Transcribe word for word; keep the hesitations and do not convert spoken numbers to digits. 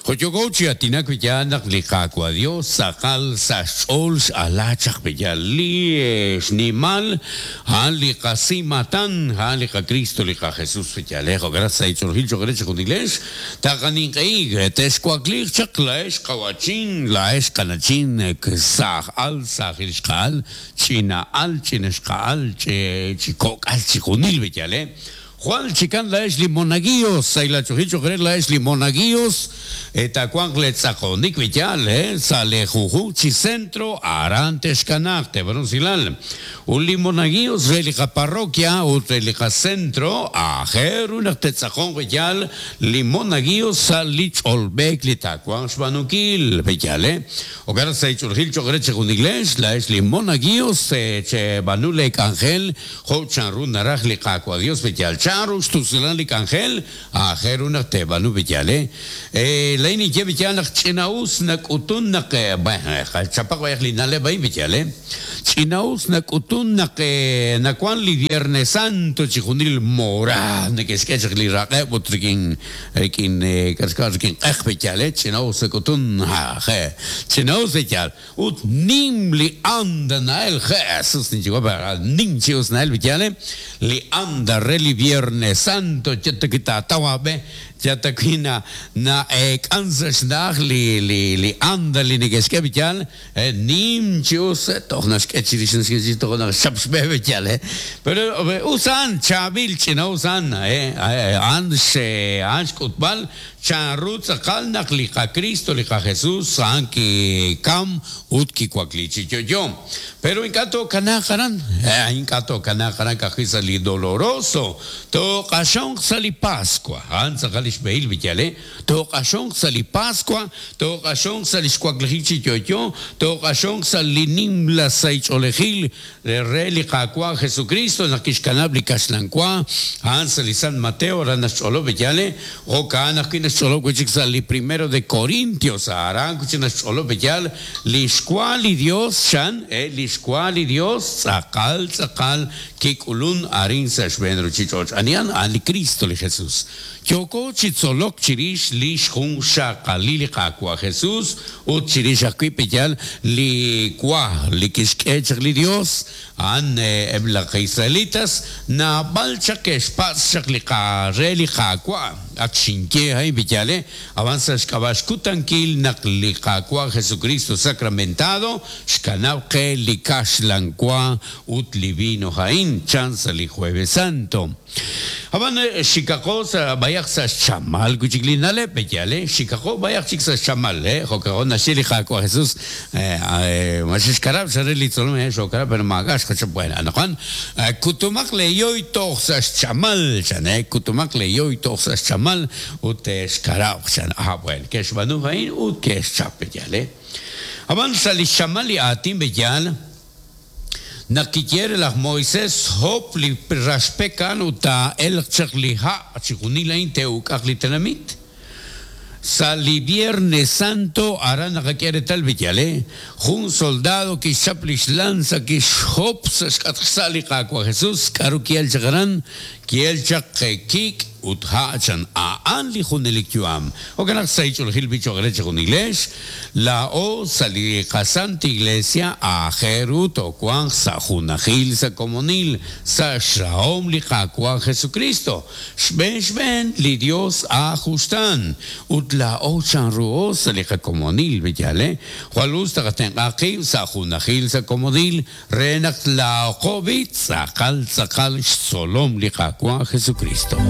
Joyoko chi atinak biyal naq li Qaawa' Dios tz'aqal sa' xch'ool x'ala chaq biyal li xnimal a'an li qasimatan a'an li qaCristo li qaJesus biyal eh jo'kan sa' ich'olojil cho'q re chi junilex taqaninq'e'ik texwakliiq chaq la'ex qawachin la'ex qanachin saaj al saajil xqa'al ch'ina'al ch'inaxqa'al chi kok'al chi junil biyal eh Juan Chican laex li monaguillos, sayla chujil chujre laex li monaguillos, etacuanc le tzaconik vital, eh, sale juju chi centro, arantes canacte, bronzilal. Un li monaguillos relica parroquia, ut relica centro, ajer una tetzajón vital, li monaguillos salich olbec li tacuan xbanukil, vital, eh. O cara se churgil chujre chejunigles, laex li monaguillos, che banule angel, ho chanru naraj li cacua Dios vital. Charus tusilan li angel ajer una tebanu vityale eh leini ke vityal nak chinaus nak utun nak chapak bayaq li nale bay vityale chinaus nak utun nak nakwan li Viernes Santo chijunil mora nekeskech li raqeb utrikin rikin kaskar rikin qeq vityale chinaus nak utun ha je chinaus vityal ut nim li anda nael Jesus ni chihuahua nim chius nael vityale li anda reli Viernes Santo, tawabe, chatakina na kansa li li li anda li nekeske vityal, nim chius tohnas kechiris tohnas shapsbe vityal, pero usan chabil china usan, eh ans ans kutbal chanru tzakal nak li ka Cristo li ka Jesús san ki kam ut ki kuaklichi yo yo pero inkato kanakaran inkato kanakaran kajisa li doloroso to qashon sali Pascua an tzakal ishbeil vityale to qashon sali Pascua to qashon sali xkuaklichi yo yo to qashon sali nimla saicholejil re li kakua Jesucristo nakishkanab li kashlankua an sali San Mateo ranacholo vityale o kana cholo li primero de Corintios aran cholo beyal lixcuali Dios chan eh lixcuali Dios tzakal tzakal kikulun arin sa xbenru chichoch anian ali Cristo li Jesús yoko chitzolok chirish lix jun xaqali li qakwa Jesús ut chirish akwi beyal li kwa li kixk'ech li Dios an ebla israelitas na balcha que espaz chak li qare li qakwa akxinke hay vityale avanza xk'abaxkutankil naq li qakwa Jesucristo sacramentado xkanab qe li kaxlankwa ut li vino jain chanza li Jueves Santo aban xikaqo sa bayaq sa xchamal kuchiklinale petyale xikaqo bayaq chik sa xchamal eh jokaqo naxi li qakwa Jesús eh maxixkarab xare li tzolom eh xokarab pero magax bueno anoqan kutumaq le yoy toj sa xchamal chan eh kutumaq le yoy toj sa xchamal ut xkarab chan ah bueno que xbanu jain ut que xchap petyale aban sa li xchamal li atin beyal nakiquiere las Moisés hop li raspekan uta el chakliha chikunila inteuk aklitenamit Sali Viernes Santo arana quiere tal vityale un soldado que chaplis lanza que hop sali kakwa Jesús karukiel chakaran kiel chak kik ut hachan aan li junelik yuam o kanak saichol hil bicho greche junilesh la o sali kasanta iglesia a jerut o kuan sa junajil sa komonil sa shaom li kakwa Jesucristo shben shben li Dios a justan ut la o chanruo sa li kakomonil vityale hualus takaten aqib sa junajil sa komonil renak la qobit sa kal sa kal solom li kakwa Jesucristo.